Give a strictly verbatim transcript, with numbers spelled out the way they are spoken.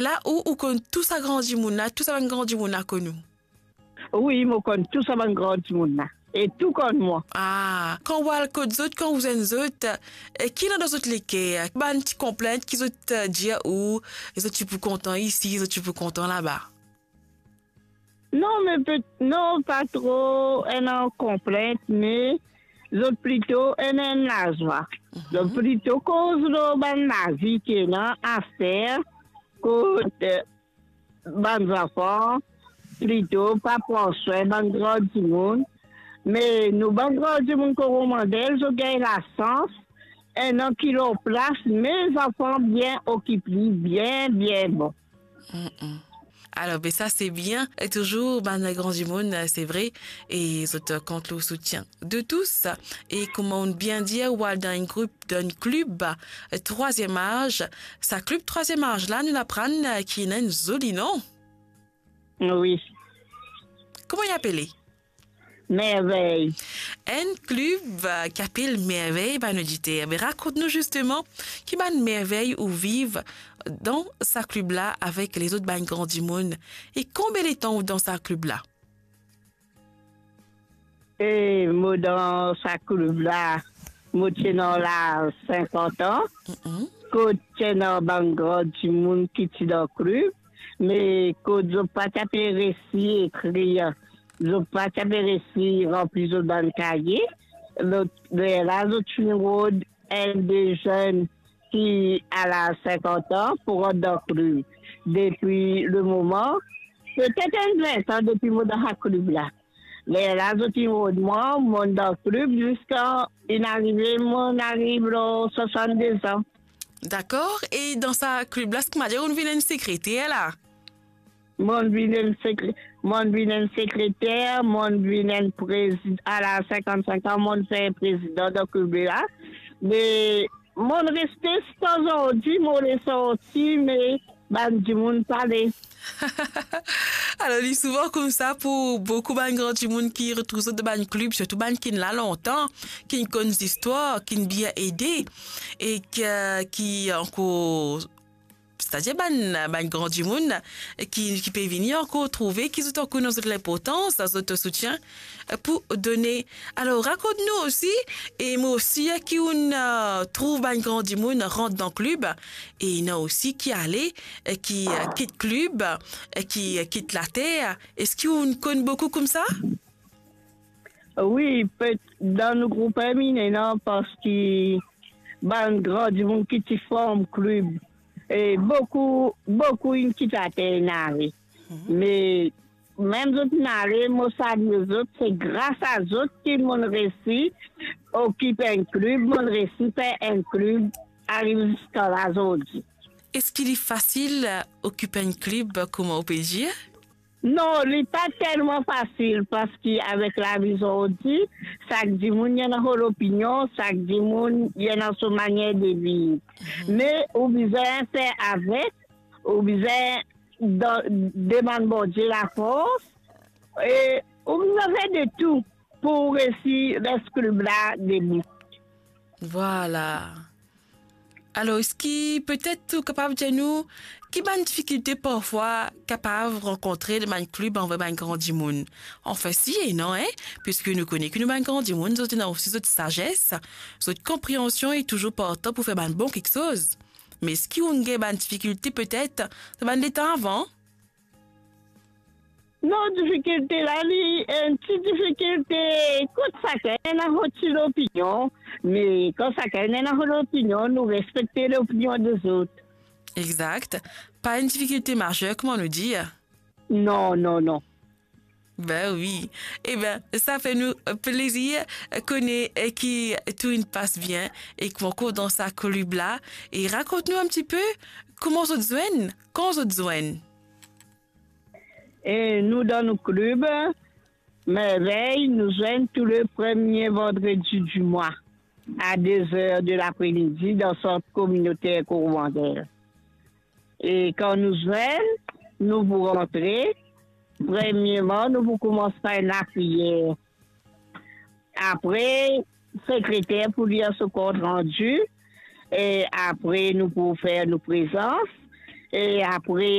La ou, ou konn tou sa gran dimoun la, tou sa bann gran dimoun la konn ou? Wi, mo konn tou sa bann gran dimoun la. E tou konn mwa. Ah, kan ou al kot zot, kan ou zwenn zot, e ki ena dan zot leker? Bann ti konplint ki zot, eh, dir ou, zot ti pou kontan isi, zot ti pou kontan laba? Non, me pe-, non, pa tro ena konplint, me zot plito ena enn lazwa. Mhm. Zot plito koz lor bann lavi ki ena aster, kot, eh, bann zanfan, plito pa pran swin bann gran dimoun. Me nou bann gran dimoun Koromandel, zot gagn lasans, ena ki lor plas, me zanfan bien okip li, bien, bien bon. Mm-mm. Alor, be sa se bien. E touzour, bann gran dimoun, se vre, e zot kont lor soutien de tous. E kouma ou bien dir, ou al dan enn group, dan enn klib, eh, trwaziem az. Sa klib trwaziem az la, nou aprann, eh, ki ena enn zoli nom. Wi. Kouma li apele? Mervey. Enn klib, eh, ki apel Mervey, bann oditer. Me rakont nou zisteman ki bann mervey ou viv dan sa klib la avek lezot bann gran dimoun. E konbien letan ou dan sa klib la? E mo dan sa klib la, mo ti ena laz sinkant an, Mm-mm. kot ti ena bann gran dimoun ki ti dan klib, me kot zot pa ti pe resi ekrir, zot pa ti pe resi ranpli zot bann kaye, lot ler la zot finn rod enn de zenn ki al a sinkant an pou rant dan klib. Depi le moman, petet enn vin an depi mo dan sa klib la. Lerla zot inn rod mwa, monn dan klib ziska inn arive, monn ariv lor swasann-de an. Dakor, e dan sa klib la, eski ou dir ou vinn enn sekreter la? Monn vinn enn sekre-, monn vinn enn sekreter, monn vinn enn prezid-, a la sinkant-sink an, monn fer prezidan dan klib la. Me monn reste ziska zordi, mo le sorti, me bann dimoun pale. Alor, li souvan koumsa pou boukou bann gran dimoun ki retrouv zot dan bann klib, sirtou bann ki'nn la lontan, ki'nn konn zistwar, ki'nn bien ede, e ki, ki ankor, setadir bann, bann gran dimoun ki, ki pe vini ankor trouve ki zot ankor ena zot linportans, zot soutien pou done. Alor, rakont nou osi, e mo sir ki ou'nn, eh, trouv bann gran dimoun rant dan klib, e ena osi ki ale, eh, ki, eh, kit klib, eh, ki, eh, kit later. Eski ou'nn konn boukou koumsa? Wi, pe-, dan nou group inn ena, parski bann gran dimoun ki ti form klib, e boukou, boukou inn kit later, inn ale. Mhm. Me mem zot inn ale, mo salie zot, se gras a zot ki monn resi okip enn klib, monn resi fer enn klib ariv ziska la zordi. Eski li fasil, eh, okip enn klib, kouma ou pe dir? Non, li pa telman fasil, parski avek lavi zordi, sak dimoun ena so lopinion, sak dimoun ena so manier de viv. Mhm. Me ou bizin fer avek, ou bizin dan-, demann Bondie lafors, e ou bizin fer de tou pou resi les klib la debout. Vwala. Alor, eski petet ou kapav dir nou ki bann difikilte parfwa kapav rankontre dan bann klib anver bann gran dimoun? Anfin, si ena, en, piski nou kone ki nou bann gran dimoun, zot ena osi zot sazes, zot konpreansion e touzour partan pou fer bann bon kiksoz. Me eski ou'nn gagn bann difikilte petet dan bann letan avan? Non, difikilte la, li enn ti difikilte, kot sakenn ena so ti lopinion, me kan sakenn ena so lopinion, nou respekte lopinion dezot. Exakt. Pa enn difikilte mazer, kouma nou dir. Non, non, non. Be wi. Eben, sa fer nou plezir kone, eh, ki tou inn pas bien e ki ou ankor dan sa klib la. E rakont nou enn tipe kouma zot zwenn, kan zot zwenn. E nou dan nou klib Mervey, nou zwenn tou le premie vandredi di mwa a de zer de lapre-midi dan sant kominoter Koromandel. E kan nou zwenn, nou pou rantre, premieman, nou pou koumans par lapriyer. Apre, sekreter pou lir so kont randi, e apre nou pou fer nou prezans, E apre,